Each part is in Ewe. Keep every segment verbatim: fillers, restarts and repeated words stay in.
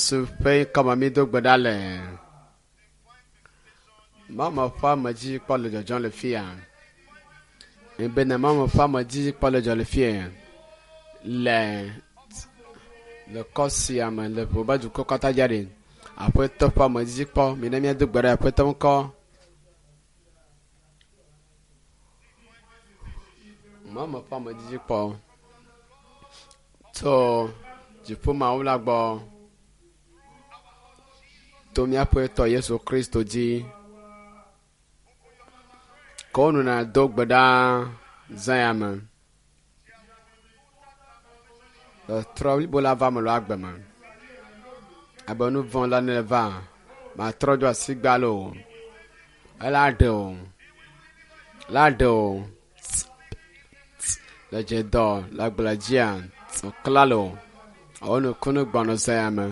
Yesu ƒe ŋkɔme mi do gbe ɖa le. Mama ƒe ame dzi kpɔ le dzɔdzɔm le fia. Bena mama ƒe ame dzi kpɔ le dzɔ le fia. Le le kɔ sia me le ʋu be dukɔ katã dza ɖi. Aƒetɔ ƒe ame dzi kpɔ mina míado gbe ɖe aƒetɔ ŋkɔ. Mama ƒe ame dzi kpɔ tso dziƒo Mawu la gbɔ to míaƒe tɔ Yesu Kristo dzi. Ke wonɔna do gbe ɖa zã ya me. Tɔtrɔ blibo la va me le agbe me. Abe nu vɔ̃ la ne va, matrɔ dzo asi gbalo o. Ela ɖe o. La ɖe o. Le dze dɔ le agble dzia, klalo. Wonu kunu gbɔnɔ zã ya me.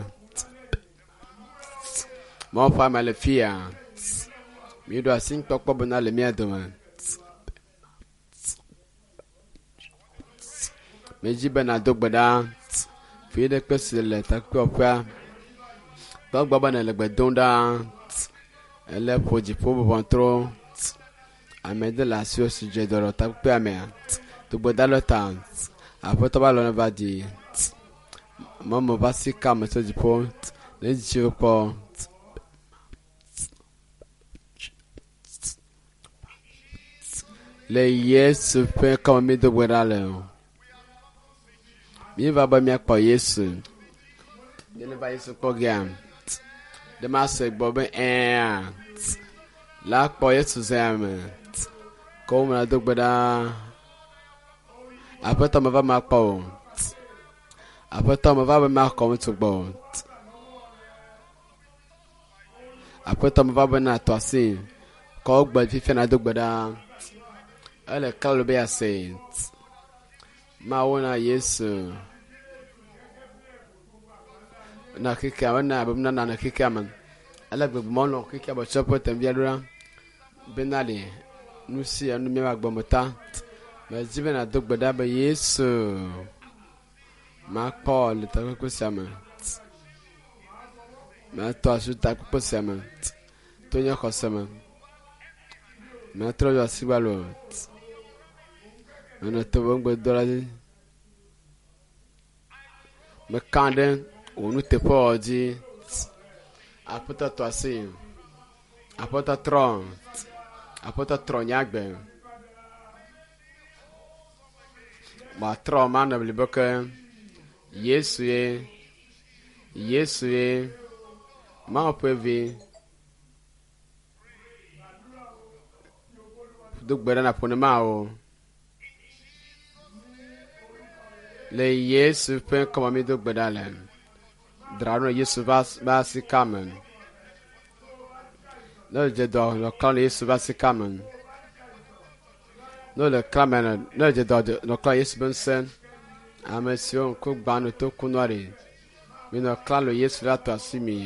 Mawu ƒe ame le fia. Míeɖo asi nukpɔkpɔ bena le mía dome. Medzi be nàdo gbe ɖa. Fi ɖe kpe si le takpekpeƒea. Kpɔ be nèle gbe dom ɖa. Ele ƒo dziƒo ʋɔtrɔ. Ame ɖe le asiwò si dze dɔ le takpekpea mea. Do gbe ɖa ɖe ta. Aƒetɔ be alɔ neva dzi. Mame ƒe asi ka ame tso dziƒo. Ne dziwò kpɔ. Le Yesu ƒe ŋkɔme mi do gbe ɖa le. Míeva be míakpɔ Yesu. Ne va Yesu kpɔ gea, ɖe mase gbɔ be ɛ̃a. La kpɔ Yesu zã ya me. Ke wo me do gbe ɖa. Aƒetɔ meva makpɔ o. Aƒetɔ meva be makɔ ŋutsu gbɔ o. Aƒetɔ meva be natɔ asi. Kɔ gbe fifia nado gbe ɖa. Ele klalo be yease. Mawu na Yesu. Na xexea me na abe nana na xexea me. Ele gbegbe mɔ xexea me tsɔ ƒe tɛnvia ɖo ɖa. Bena le nu sia nu míaƒe agbe me ta. Medzi be nàdo gbe ɖa be Yesu makpɔ le takpekpe sia me. Matɔ asi takpekpe sia me. To nye xɔse me. Matrɔ dzo asi gbalo. Menɔ to be ŋugbedola dzi. Meka ɖe wò nuteƒewɔwɔ dzi. Aƒetɔ tɔ asi. Aƒetɔ trɔ. Aƒetɔ trɔ nye agbe. Matrɔ manɔ blibo ke. Yesu ye. Yesu ye. Mawu ƒe vi. Do gbe ɖa nàƒo ne Mawu. Le Yesu ƒe ŋkɔme mi do gbe ɖa le. Dzra ɖo Yesu ƒe asi ka me. Ne dze dɔ nɔ klã le Yesu ƒe asi ka me. Ne le klã me ne dze dɔ nɔ klã Yesu ƒe ŋusẽ. Ame siwo ŋku gbã no to kunɔ ɖi. Minɔ klã le Yesu la tɔ asi mi.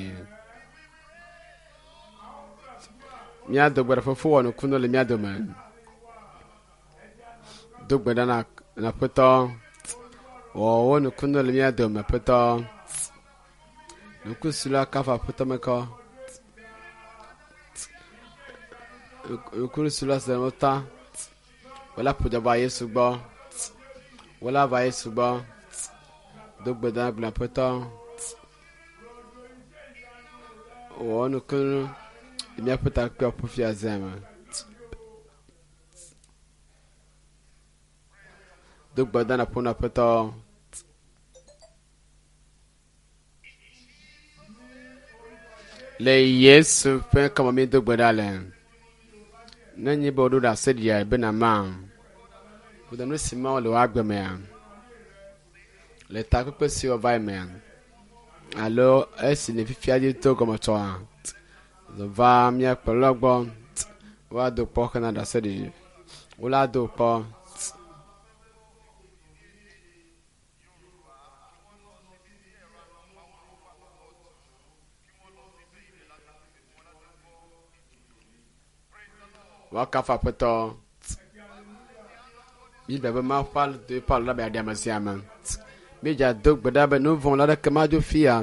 Míado gbe ɖa fofo wɔ nukunu le mía dome. Do gbe ɖa na na aƒetɔ. Wɔ wò nukunu le mía dome aƒetɔ. Nuku si la kafu aƒetɔ me kɔ. Nuku si la se ta. Wòle ƒo dɔ va Yesu gbɔ. Wòle va Yesu gbɔ. Do gbe ɖa gblɔ aƒetɔ. Wɔ nukunu le míaƒe takpekpe fia zã me. Do gbe ɖa na ƒo na aƒetɔ. Le Yesu ƒe ŋkɔme mi do gbe ɖa le. Ne nye be woɖo ɖase ɖia bena ma. Kudo nu si Mawu le wò agbe mea. Le takpekpe si wova yi mea. Alo esi ne fifia dzi to gɔmetsɔa. Va mía kplɔla gbɔ. Woado kpɔ hena ɖase ɖiɖi. Wola do kpɔ. Woakafu aƒetɔ. Biblia be Mawu ƒe do eƒe alɔ ɖa be yeaɖe ame sia ame. Míedza do gbe ɖa be nu vɔ̃ la ɖeke madzo fia.